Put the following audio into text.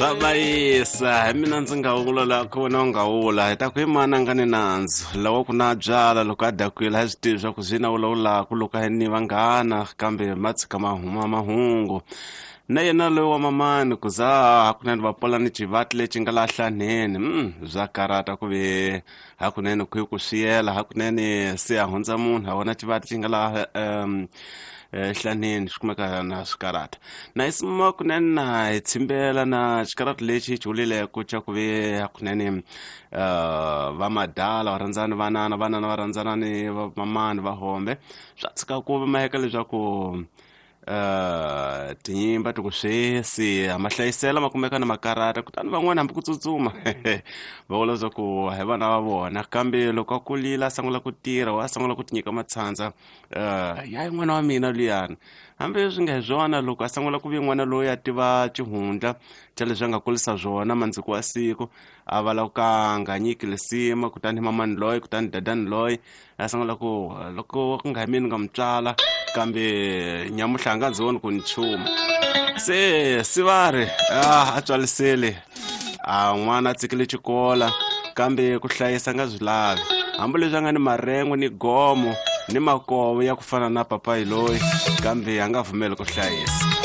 Swa bayisa hi mina ndzi nga wula la ku wena u nga wula hi ta ku i mani a nga ni nandzu lawa ku na byala loko a dakwile a swi tivi swa ku swi na vulavulaka loko a ni vanghana kambe ma tshika ma huma mahungu na yena loyi wa mamani ku za hakunene va pola ni xivati lexi nga laha hlanheni bya karata ku ve hakunene ku yi ku swiyela hakunene se a hundza munhu a vona xivati xi nga laha hlanheni swi kumeka na swikarata na hi sima kunene na hi tshimbela na xikarata lexi xi vulileko xa ku ve hakunene va madala va rhandzana vanana vanana va rhandzana ni vamamani va hombe swa tshika ku maheka leswaku tinyimba ti ku swesi mahlayisela ma kumeka na makarata kutani van'wana hambi ku tsutsuma va vula leswaku hi vana va vona kambe loko a kulile a sungula ku tirha wa sungula ku tinyika matshandza ya n'wana wa mina luyani hambi swi nga hi swona loko a sungula ku ve n'wana loyi a tiva xihundla xa leswi a nga kulisa swona mandziko wa siku a va la ku ka nga nyiki lisima kutani mamani loyi kutani dadani loyi a sungula ku loko ku nga hi mina ni nga mu tswala kambe nyamuhla a nga ndzi voni ku ni chuma se si va ri a tswalisele a n'wana a tsikile xikola kambe ku hlayisa nga swi lavi hambileswi a nga ni marengo ni gomo ni makovo ya ku fana na papayi loyi kambe a nga pfumeli ku hlayisa.